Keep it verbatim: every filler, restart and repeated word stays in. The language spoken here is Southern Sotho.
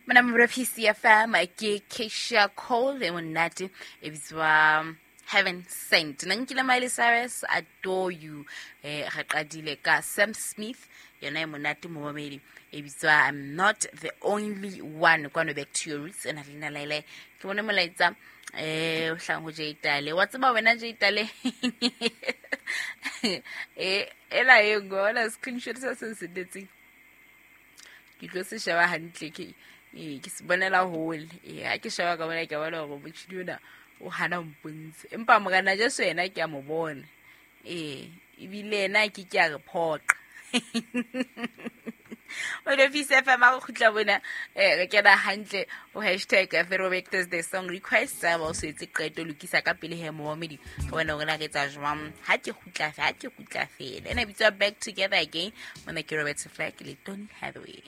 Mona P C F M ke Keisha Cole e monate e bitswa Heaven Sent. Nna nkile Miley Cyrus, Adore You. Eh, re qadile ka Sam Smith, yona e monate momamedi e bitswa I'm Not the Only One. Kwano Back to Your Roots ena le nna Laila. Ke bone molaetsa eh o hlang ho Jay Tale. Wa tseba wena Jay Tale? Eh, ela e ngola screenshot sa se sendetseng. Ke tlo se sheba hantle ke eh, ke se bonela hole. Eh, ha ke sheba ka bona ke bona hore motjhini ona o hana mpontshe. Empa morena Jesu yena ke a mo bona. Eh, ebile yena ke ke a re phoqa. O le P C F M a re kgutla bona, eh, re kena hantle ho hashtag Throwback Thursday song request. Tsa ba o se etse qeto, lokisa ka pele he momamedi. Re bone hore na re etsa jwang. Ha ke kgutla fe, ha ke kgutla fela. Ena e bitswa Back Together Again. Mona ke Robert Flack le Donny Hathaway.